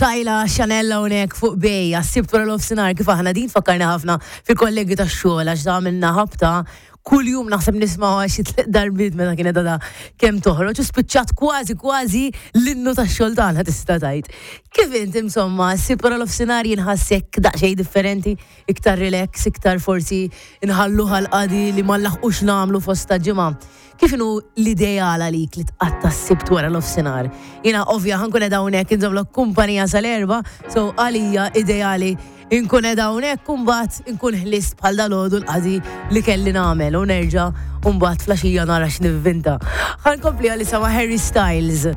Tajla Chanel hawnhekk fuq Bay għas-Sibt wara nofsinhar kif aħna din tfakkarni ħafna fil-kollegi tax-xogħol għax għamilna ħabta kuljum naħseb nismgħuha xi tliet darbiet meta kienet għadha kemm toħroġ u spiċċat kważi kważi l-innu tax-xogħol tagħna tista' tgħid. Kif int insomma, s-Sibt wara nofsinhar jinħassek daqsxejn differenti, iktar relax, iktar forsi nħalluha l-qadi li ma nlaħqux nagħmlu fost ta' ġimgħa. Kif inhu l-ideal għalik li tqatta' s-Sibt wara nofsinhar? Jiena ovvja ħa nkun qiegħda hawnhekk inżommlok kumpanija sal-erbgħa, so għalija ideali inkun qiegħda hawnhekk u mbagħad inkun ħlist bħal dalgħodu l-qadi li kelli nagħmel u nerġa' u mbagħad flaxija nara x'nivvinta. Ħa nkompli għalissa ma' Harry Styles.